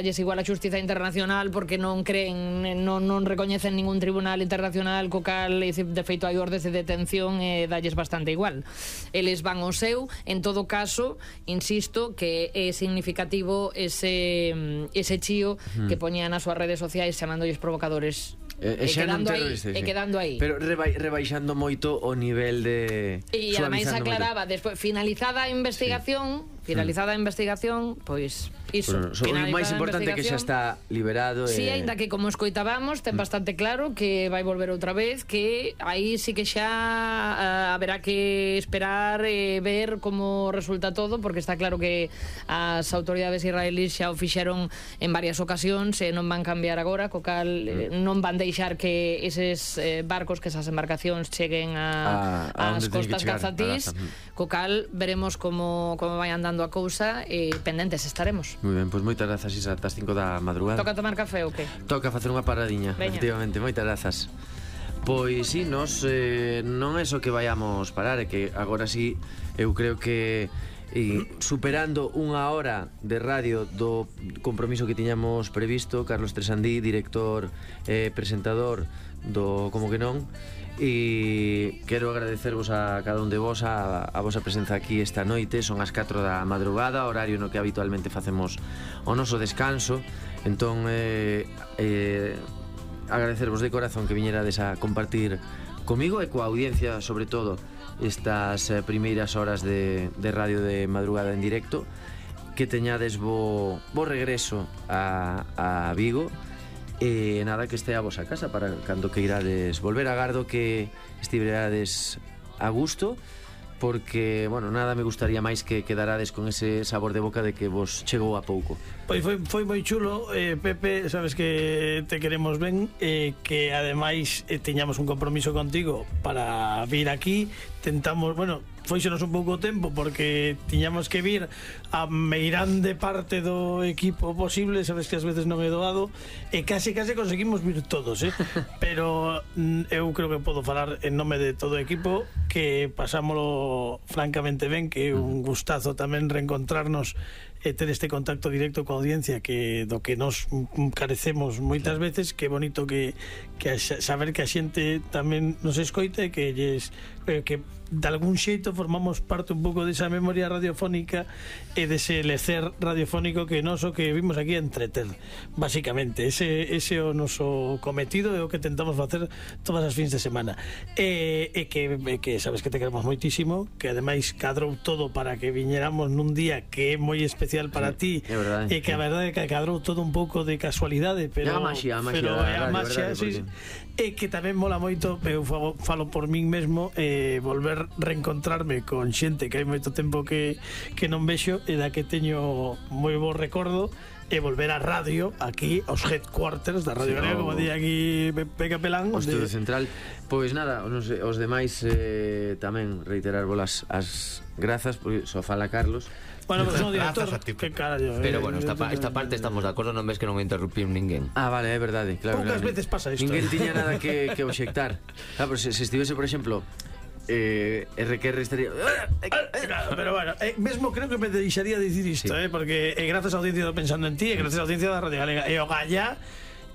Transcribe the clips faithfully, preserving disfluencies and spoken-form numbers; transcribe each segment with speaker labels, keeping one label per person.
Speaker 1: es igual a xustiza internacional porque non creen, non, non recoñecen ningún tribunal internacional, co cal de feito hai ordes de detención e dalles bastante igual. Eles van ao seu. En todo caso, insisto que é significativo ese ese chío mm. que poñían nas súas redes sociais chamándoles provocadores.
Speaker 2: E, e,
Speaker 1: e, quedando aí, sí. e quedando aí
Speaker 2: pero reba, rebaixando moito o nivel de
Speaker 1: e ademais aclaraba despois, finalizada a investigación sí. finalizada a investigación, pois iso,
Speaker 2: bueno, so, o máis importante que xa está liberado
Speaker 1: si, sí,
Speaker 2: e...
Speaker 1: ainda que como escoitábamos ten bastante claro que vai volver outra vez, que aí sí que xa uh, haberá que esperar e eh, ver como resulta todo, porque está claro que as autoridades israelíes xa o fixeron en varias ocasións e non van cambiar agora, co cal eh, non van deixar que eses eh, barcos, que esas embarcacións cheguen a, a, a as costas gazatís, co cal veremos como, como vai andando a cousa e pendentes estaremos.
Speaker 2: Moi ben, pois moitas grazas, Isa, ata as cinco da madrugada.
Speaker 1: Toca tomar café ou que?
Speaker 2: Toca facer unha paradiña, Veña. Efectivamente, moitas grazas. Pois si, sí, nos eh, non é só que vayamos parar, é que agora si eu creo que e superando unha hora de radio do compromiso que tiñamos previsto, Carlos Tresandí, director e eh, presentador do Como que non, e quero agradecervos a cada un de vos a, a vosa presenza aquí esta noite. Son as catro da madrugada, horario no que habitualmente facemos o noso descanso, entón eh, eh, agradecervos de corazón que viñerades a compartir comigo e coa audiencia, sobre todo estas eh, primeiras horas de, de radio de madrugada en directo. Que teñades bo, bo regreso a, a Vigo e nada, que este a vosa casa para cando que irades volver. Agardo que estiverades a gusto, porque, bueno, nada me gustaría máis que quedarades con ese sabor de boca de que vos chegou a pouco.
Speaker 3: Pois foi, foi moi chulo, eh, Pepe, sabes que te queremos ben, eh, que ademais eh, teñamos un compromiso contigo para vir aquí. Tentamos, bueno, foixenos un pouco tempo porque tiñamos que vir a meirande parte do equipo posible, sabes que ás veces non é doado, e case case conseguimos vir todos, eh? Pero eu creo que podo falar en nome de todo o equipo que pasámolo francamente ben, que é un gustazo tamén reencontrarnos e ter este contacto directo coa audiencia, que do que nos carecemos moitas veces. Que bonito que, que a, saber que a xente tamén nos escoita e que lles, eh, que de algún xeito formamos parte un pouco desa memoria radiofónica e dese lecer radiofónico que nos o que vimos aquí a entreter, basicamente. Ese, ese é o noso cometido e o que tentamos facer todas as fins de semana, e, e que, e que sabes que te queremos moitísimo, que ademais cadrou todo para que viñéramos nun día que é moi especial para
Speaker 2: sí,
Speaker 3: ti, verdade, e que a verdade é que cadrou todo un pouco de casualidade, pero
Speaker 2: a maxia, a maxia,
Speaker 3: pero
Speaker 2: é
Speaker 3: a maxia, sí, e que tamén mola moito. Eu falo, falo por min mesmo, eh, volver reencontrarme con xente que hai moito tempo que, que non vexo e da que teño moi bo recordo, e volver á radio aquí aos headquarters da Radio sí, Galega, como di aquí Peca Pelán,
Speaker 2: o estudio de... central. Pois nada, os, os demais eh, tamén reiterar bolas as grazas, porque só fala Carlos.
Speaker 3: Bueno, pues no, director, que carallo.
Speaker 4: Pero bueno, esta, pa, esta parte estamos de acordo, non ves que non interrumpir ninguén.
Speaker 2: Ah, vale, é verdade, claro.
Speaker 3: Poucas
Speaker 2: claro.
Speaker 3: veces pasa isto.
Speaker 2: Ninguén tiña nada que, que obxectar. Claro, pero se, se estivese, por exemplo, eh, R Q R estaría...
Speaker 3: Pero bueno, eh, mesmo creo que me deixaría dicir isto, sí. eh, porque eh, grazas á audiencia do Pensando en Ti, e grazas á audiencia da Radio Galega e o Galla,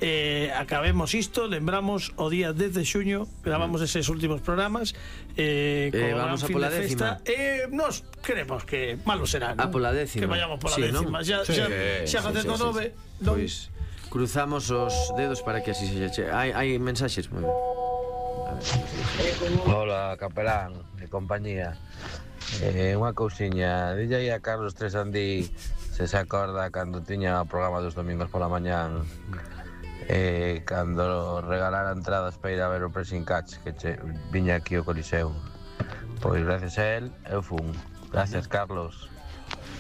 Speaker 3: eh, acabemos isto, lembramos o día dez de xuño, gravamos eses últimos programas, eh,
Speaker 2: eh, vamos a pola de décima,
Speaker 3: e eh, nos queremos que malo será, ¿no?
Speaker 2: A pola décima,
Speaker 3: que vayamos pola
Speaker 2: sí,
Speaker 3: décima, xa,
Speaker 2: sí,
Speaker 3: xa,
Speaker 2: sí,
Speaker 3: xa facendo
Speaker 2: sí,
Speaker 3: nove,
Speaker 2: sí, non... Pois cruzamos os dedos para que así se che... Hai, hai mensaxes, moi ben.
Speaker 5: Hola, Capelán e compañía. Eh, unha cousiña, dille aí a Carlos Tresandí se se acorda cando tiña o programa dos domingos pola mañán, eh, cando regalara entradas para ir a ver o Pressing Catch, que che, viña aquí ao Coliseo. Pois gracias a él eu fun. Gracias, Carlos.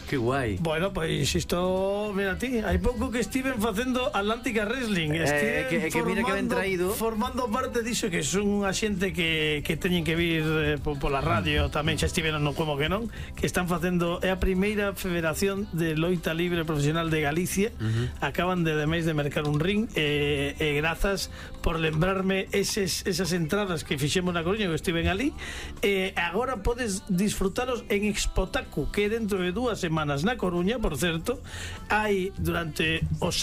Speaker 2: Que guai.
Speaker 3: Bueno, pois pues isto, mira ti, hai pouco que estiven facendo Atlántica Wrestling, estiven
Speaker 2: eh, que, que mira que ben traído,
Speaker 3: formando parte diso, que son unha xente que, que teñen que vir eh, pola radio, tamén xa estiveron no Como que non, que están facendo, é a primeira federación de loita libre profesional de Galicia. Uh-huh. Acaban de ademais de mercar un ring, e eh, eh, grazas por lembrarme eses, esas entradas que fixemos na Coruña, que estiven ali, e eh, agora podes disfrutalos en Expotaku, que é dentro de dúas semanas. semanas na Coruña, por certo. Hai durante os